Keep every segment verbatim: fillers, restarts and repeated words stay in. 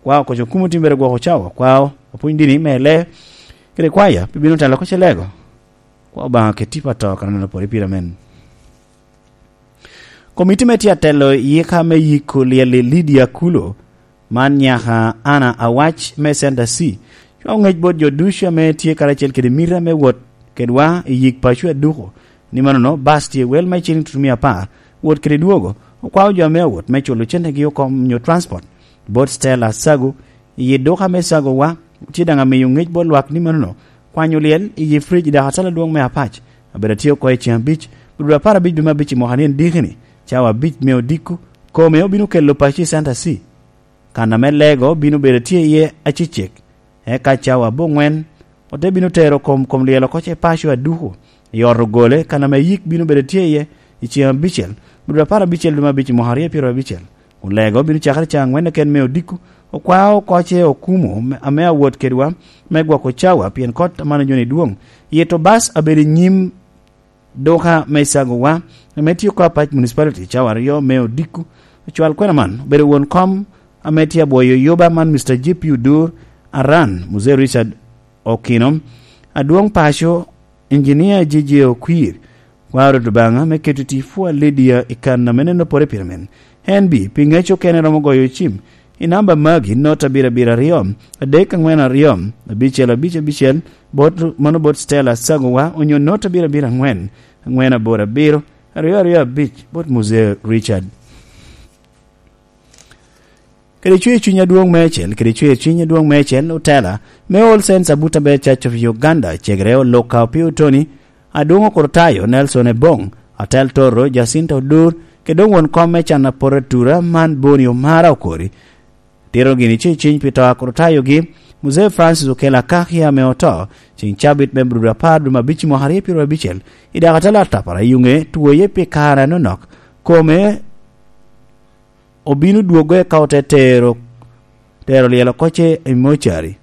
Kwao koco kumo timbere gwoko cawa, kwao apwony dini me le, kede kwaya, pi bino telo koce lego. Kwao Obaŋa ket tipo ato kan aneno pwod i pira men. Komiti me tye atelo i yika me yiko lyel i Lydia Kulo, man nyaka Ana Awac me Center C, cwao ŋec bot jo ducu ame tye karacel kede mita me wot kedwa i yik paco aduko, ni manono bas tye wel me ciling tutumia apar, wot kede dwogo, okwao jo ame awot me culo centegi oko nyo transport. Bot Stella Sago, i yi duka me Sago wa, tye daŋ amiyo ŋec bot lwak ni manono, kwanyo lyel i yi fridge i dakatala adwoŋ me Apac, abedo atye oko i ceng abic, dwe apar abic dwe me abic i mwaka ni en diki-ni, cawa abic me odiko, kome obino kelo paco i Center C. Kan ame lego bino bedo tye iye acecek, eka cawa aboŋwen ote bino tero kom, kom lyel oko ce paco aduku i ot ogole, kan ame yik bino bedo tye iye i ceng abicel, dwe apar abicel dwe me abic i mwaka aryo pyero abicel. Kun lego bino cakere cawa aŋwen keken me odiko, okwao oko ce okumo me, ame awot kedwa me gwoko cawa, pien kot amano joni dwoŋ. Yito bas abedo i nyim duka me Sago wa, ame tye oko Apac Municipality, cawa aryo me odiko. Ocwal kwena man obedo won kom ame tye abwoyo yuba man, Mister J P Odur Aran, Mzee Richard Okino, adwoŋ paco, Engineer J J Okwir, kwaro Lubanga me keto tic pwod Lydia i kan ame neno pore pire men. En bi, pi ŋec okene romo goyo cim, i namba magi, nota abiro abiro aryo, adek aŋwen aryo, abicel abic abicel, bot, mano bot Stella Sagowa, onyo nota abiro abiro aŋwen, aŋwen aboro abiro, aryo aryo abic, bot Mzee Richard. Kede cwer cuny adwoŋ meicel, kede cwer cuny adwoŋ meicel, otela me All Saints Abutabel Church of Uganda, cegere Oluka Opio Tony, adwoŋ okurutayo Nelson Ebong, atel Toro Jacinta Odur, kede doŋ won kom me can aporatura man Boni Omara Okori, tito gini ci ciny pi to a kurutayogi, Mzee Francis Okello Akakia ame oto, ceŋ cabit me Abril apar dwe me abic mwaka aryo pyero abicel, i dakatala atapara i Yuŋe, twoye pi kare anonok. Kome obino dwogo eka ote tero, tero lyel oko ce i mocari.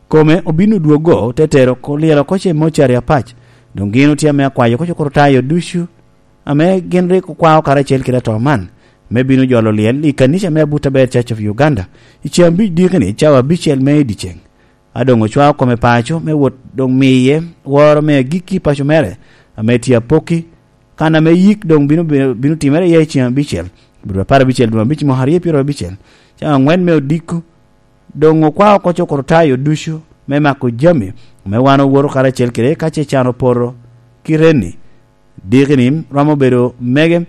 Kome obino dwogo, te tero ko-, lyel oko ce mocari Apac. Doŋ gin otye ame akwayo oko cukur tayo ducu, ame gin rik okwao karacel kede ato man, me bino jolo lyel i kanica me Abutabel Church of Uganda, i ceng abic diki-ni, cawa abicel me i dyeceŋ. A doŋ ocwao kome paco me wot doŋ miye woro me agikki i paco mere, ame tye Apoki, kan ame yik doŋ bino, bino, bino timere iye i ceng abicel, Abril apar abicel dwe abic mwaka aryo pyero abicel, cawa aŋwen me odiko, doŋ okwao oko cukur tayo ducu me mako jami, ame wan owoto karacel kede ka ce can opoto. Kite-ni, diki-ni romo bedo mege,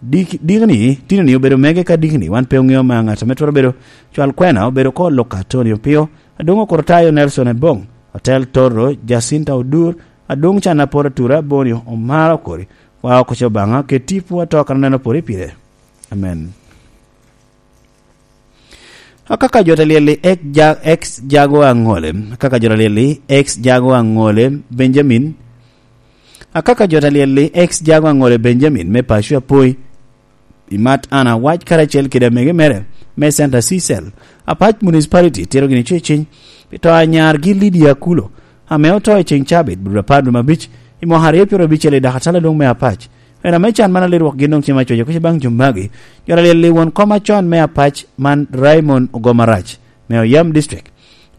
dik-, diki-ni, tino-ni obedo mege ka diki-ni, wan pe oŋeo ma ŋat ame twero bedo cwal kwena obedo ko Luka Tony Opio, adwoŋ okurutayo Nelson Ebong, otel Toro Jacinta Odur, adwoŋ can aporatura Boni Omara Okori, wa oko ce Obaŋa, ket tipo ato kan aneno pore pire. Amen. Akaka jo ta lyel i ex Ja-, ex Jago Aŋole, akaka jo ta lyel i ex Jago Aŋole Benjamin, akaka jo ta lyel i ex Jago Aŋole Benjamin me paco Apoi, i mat Ana Awac karacel kede amege mere me Center C Cell, Apac Municipality tito gini cuciny pi to a nyargi Lydia Akulo, ame oto i ceng cabit, Abril apar dwe me abic, i mwaka aryo pyero abicel i dakatala lwong me Apac. En ame can man alir wok gin doŋ cem acoco kuca baŋ jo magi. Jo ta lyel i won kom acon me Apac man Raymond Ogomarac, me Oyam District.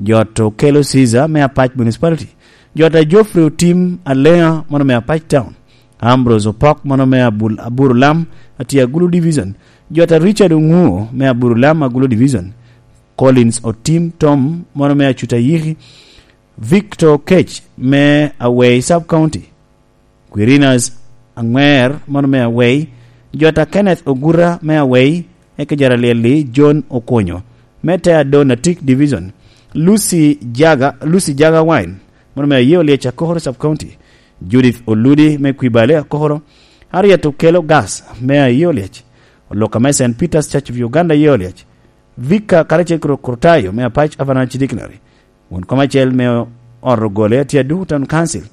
Jo ta Okello Caesar me Apac Municipality. Jo ta Geoffrey Otim Alea, mono me Apac Town. Ambrose Opok, mono me Abul-, Aburulam, atye Agulu Division. Jo ta Richard Oŋuo, me Aburulam, Agulu Division. Collins Otim Tom, mono me Acuta Yiki. Victor Okech, me Awei Sub County. Quirinas Aŋwer, mono me Awei. Jo ta Kenneth Oguta, me Awei. Eka jo ta lyel-li John Okonyo, me te Adon Atik Division. Lucy Jaga, Lucy Jaga Wine, mono me Aye Olyec Akokoro Sub County. Judith Oludi, me Kwibale Akokoro. Harriet Okello Gas, me Aye Olyec. Oluka me Saint Peter's Church of Uganda Aye Olyec. Vicar karacel kede Okurtayo me Apac Avalanche Dictionary. Won kom acel me ot ogole atye Aduku Town Council.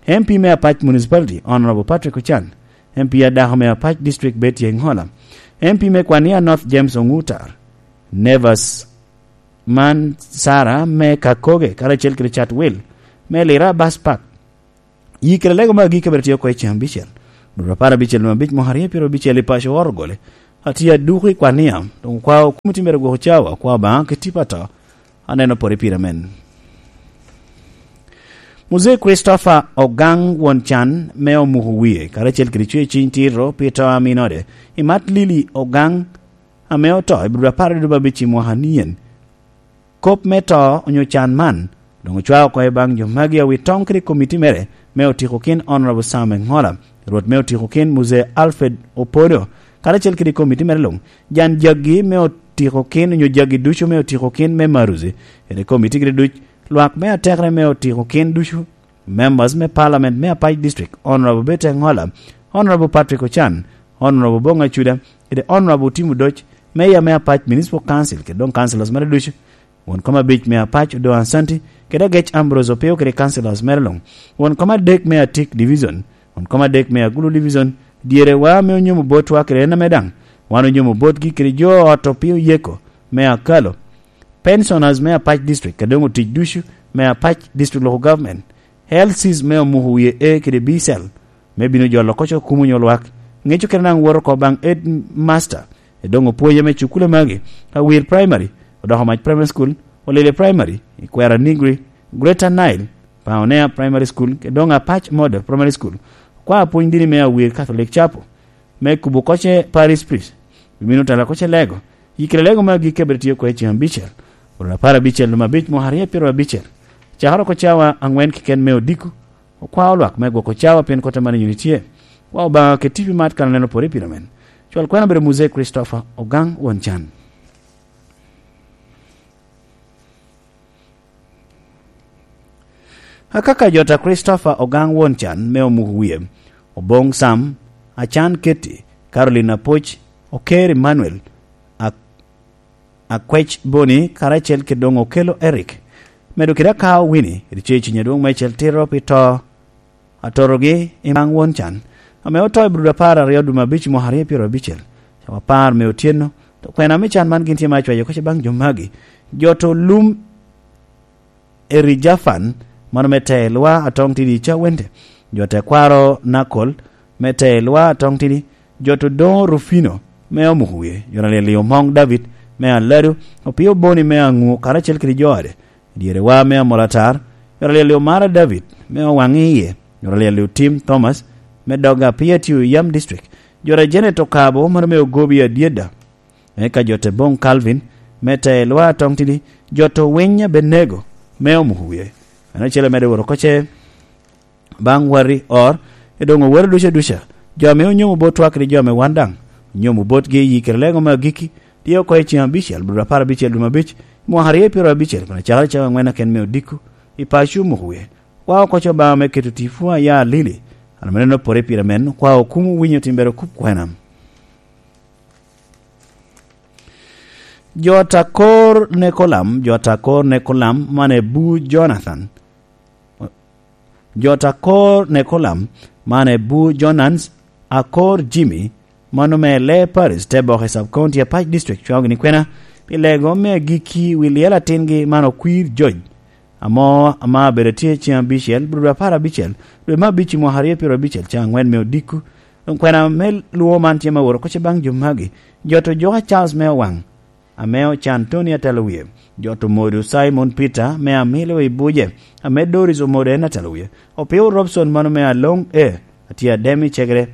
M P me Apac Municipality, Honorable Patrick Ochan. M P adako me Apac District Betty Engola. M P me Kwania North James Ongutar. Nevers man Sarah me Kakoge, karacel kede Chatwil me Lira Bus Park. Yikere lego me agikki abiro tye oko i ceng abicel, dwe apar abicel, dwe abic, mwaka aryo pyero abicel i paco ot ogole. Atye aduko i kwania, doŋ okwao komiti mere gwoko cawa, okwao Obaŋa kit tipo ato. Aneno pore pire men. Muzee Christopher Ogaŋ won can me omuko wie, karacel kede cwer ciny tito pi to a min ode, i mat Lili Ogaŋ ame oto i Bur apar adudu abic i mwaka nien. Kop me to onyo can man, doŋ ocwao oko i baŋ jo magi awi toŋ kede komiti mere me otiko kin Honorable Sam Eŋola, Rwot me otiko kin Muzee Alfred Opodo, karacel kede komiti mere luŋ, jan jaggi me otiko kin onyo jaggi ducu me otiko kin me Maruzi, kede komiti kede duc, lwak me atekere me otiko kin ducu, members me parliament me Apac District, Honorable Bete Eŋola, Honorable Patrick Ochan, Honorable Boŋ Acuda, kede Honorable Tim Odoc, Mayor me Apac Municipal Council, kede doŋ councilors mere ducu, won kom abic me Apac Odo Ansanti, kede Agec Ambrose Opio kede councilors mere luŋ, won kom adek me Atik Division, won kom adek me Agulu Division, dyere wa ame onyomo botwa kede en ame daŋ wan onyomo botgi kede jo ot Opio Yeko me Akalo, pensioners me Apac District, kede doŋ otic ducu me Apac District Local Government, L Cs me omuko wie A kede B cell, me bino jolo koc okumo onyo lwak, ŋeco kede naŋ woto oko baŋ headmaster, e doŋ opwonye me cukule magi, Awir Primary, Odoko Mac Primary School, Olele Primary, Ikwera Nigri, Greater Nile, Pioneer Primary School, kede doŋ Apac Model Primary School, okwa apwony dini me Awir Catholic Chapel, me kubo koc e Parish Priest, bimino tala koc e lego, yikere lego magi kebere tye oko i ceŋ abicel, oro apar abicel lumo abic mwaka aryo pyero abicel, cakere oko cawa aŋwen keken me odiko, okwao lwak me gwoko cawa pien kota man inyuto tye. Wa Obaŋa keti pi mat kan aneno pore pire men. Cwal kwena bedo Muzee Christopher Ogaŋ won can. Akaka jota Christopher Ogaŋ won can me omuko wie, Oboŋ Sam, Acan Keti, Caroline Apoc, Oker Emmanuel, Ak-, Akwec Boni, karacel kede doŋ Okelo Eric. Medo kede Akao Winnie, kede Ceciny adwoŋ meicel tito pi to atorogi i maŋ won can, ame oto i Brudo apar aryo dwe me abic mwaka aryo pyero abicel, cawa apar me otyeno. To kwena me can man gin tye ma acwayo koc baŋ jo magi. Jot olum Eri Jafan, mano me te lwa atoŋ tidi Cawente. Jot ekwaro Nakol, me te lwa atoŋ tidi. Jot odoŋo Rufino, me omuko wie. Jot alyel i Omoŋ David, me Aladu, Opio Boni me Aŋu, karacel kede jo ode. Dyere wa me Amolatar, jot alyel i Omara David, me owaŋ iye. Jot alyel i Otim Thomas, me Doga Apia Tio Yam District. Jot a Janet Okabo, mano me Ogobi Adyeda. Eka jot eboŋ Calvin, me te lwa atoŋ tidi, jot owiny Abenego, me omuko wie. En acel amede woro koce, baŋ wari or, edoŋ owero duca duca, jo ame onyomo bot twak kede jo ame wan daŋ, onyomo botgi i yikere lego me agikki, tye oko i ceŋ abicel, Brudo apar abicel dwe me abic, mwaka aryo pyero abicel, kun acakere cawa aŋwen aken me odiko, i paco omuko wie. Wa oko co Obaŋa me keto tipo aya alili, an ame neno pore pire men, kwa okumo winyo timbere kup kwena. Jo ta kor Nekolam, jo ta kor Nekolam, man e bu Jonathan. Jo ta kor Nekolam, man e bu Jonans, akor Jimmy, mano me le Paris, te bok i sub county Apac District, cwago ni kwena, pi lego me agikki wi lyel atingi man okwir George, amo ama abedo tye ceŋ abicel, Brudo apar abicel, dwe me abic i mwaka aryo pyero abicel, ca aŋwen me odiko. Doŋ kwena me lwoŋo man tye ma woro koc baŋ jo magi, jo to joka Charles me Owaŋ, ame ocan Tony atalo wie, jo to Modo Simon Peter me amilo i Buje, ame Doris Omodo en atalo wie, Opio Robson mano me Aloŋ E, atye adem i cegere,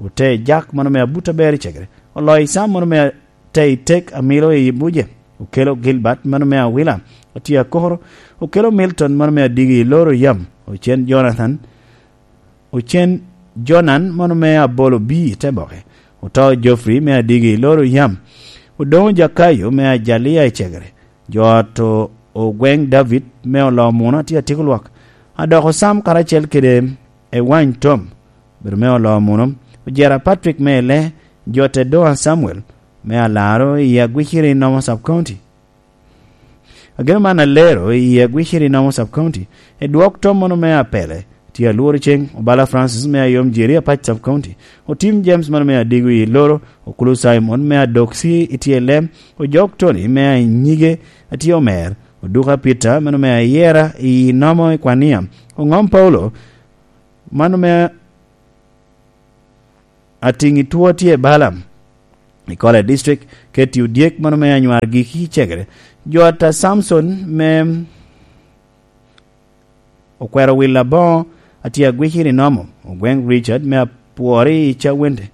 ote Jak mano me abut aber i cegere, oloi Sam mano me te i tek amilo i Buje, okelo Gilbert mano me Awila, atye akoro, okelo Milton mano me adigi i loro yam, ocen Jonathan, ocen Jonan mano me abolo bi i te boke, oto Geoffrey me adigi i loro yam, odoŋo Jakayo me ajalia i cegere, jo ot o-, ogweŋ David me olo muno atye atyeko lwak, adoko Sam karacel kede ewany Tom, bedo me olo muno, ojera Patrick me ele, jo te doŋa Samuel, me alaro i agwiciri nomo sub county. Ageno man alero i agwiciri nomo sub county, e dwok tom mono me apele, tye alworo ceŋ, Obala Francis me ayom Jeri Apac sub county, Otim James mono me adigo i loro, Okulu Simon me adoksi i tye lem, Ojok Tony me anyige atye omer, Oduka Peter mono me ayera i nomo i kwania, Oŋom Paulo, mano me atiŋ i two tye Balaam, I Kole District, Keti Odyek, mano me Anywar Giki Cegere, jo ata Samson me Okwero Wil Aboŋo, atye agwiki i Nomo, Ogweŋ Richard me Apwori i Cawende,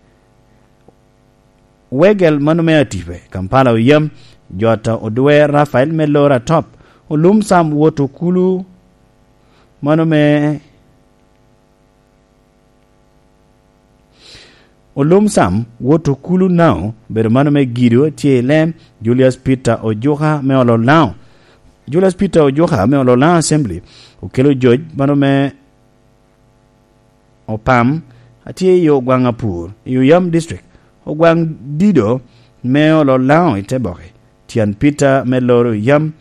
Wegel, mano me Atipe, Kampala Oyam, jo ata Odwe Rafael me Lora Top, Olum Sam wot Okulu, mano me Olum Sam wot Okulu Nao, bedo mano me Gido tye i Lem, Julius Peter Ojuka me Ololao. Julius Peter Ojuka me Ololao Assembly, Okelo Joj, mano me Opam, atye i Ogwaŋ Apur, i Oyam District, Ogwaŋ Dido me Ololao i Teboki, Tyan Peter me Loro Oyam,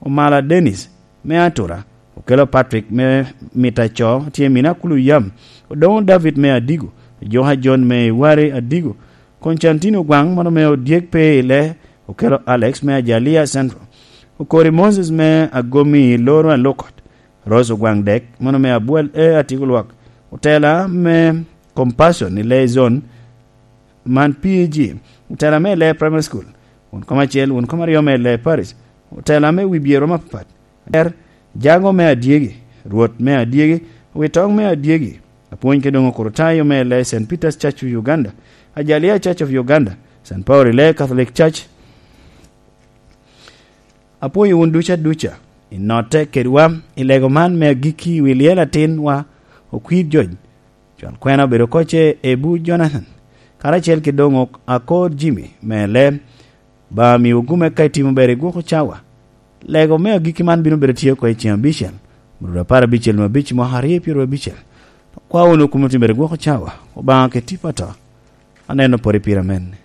Omala Dennis me Atura, Okelo Patrick me Mitaco, tye i Mina Kulu Yam, Odoŋo David me Adigo, Ojoka John me Iwari Adigo, Koncantin Ogwaŋ, mano me Odyek pe ile, Okelo Alex me Ajalia Central, Okori Moses me Agomi Loro Alokot, Rose Ogwaŋ Dek, mano me Abwal e Atiko Lwak, Otela me Compassion i Leyzon, man P A G, Otela me Ley Primary School, won kom acel, won kom aryo me Ley Parish, Otela me wi byero mapapat, Der, Jago me Adyegi, Rwot me Adyegi, Witoŋ me Adyegi, Apwony Kedongo Kurutayo me Ley Saint Peter's Church of Uganda, Ajalia Church of Uganda, Saint Paul Ley Catholic Church. Apwoyo wun duca duca, i notte kedwa, i lego man me agikki i wi lyel atinwa, Okwir Joj, Cwal kwena obedo kocce Ebu Jonathan, karacel ki doŋ ok akor Jimmy me le, ba miwu gume ka itimo ber i gwoko cawa. Lego me agikki man bino bedo tye oko i ceng abicel, mururu apar abicel me abic mwaka aryo pyero abicel. Kwa wunu kumo timo ber i gwoko cawa, Obaŋa ke tipo ato. Aneno pori pira men.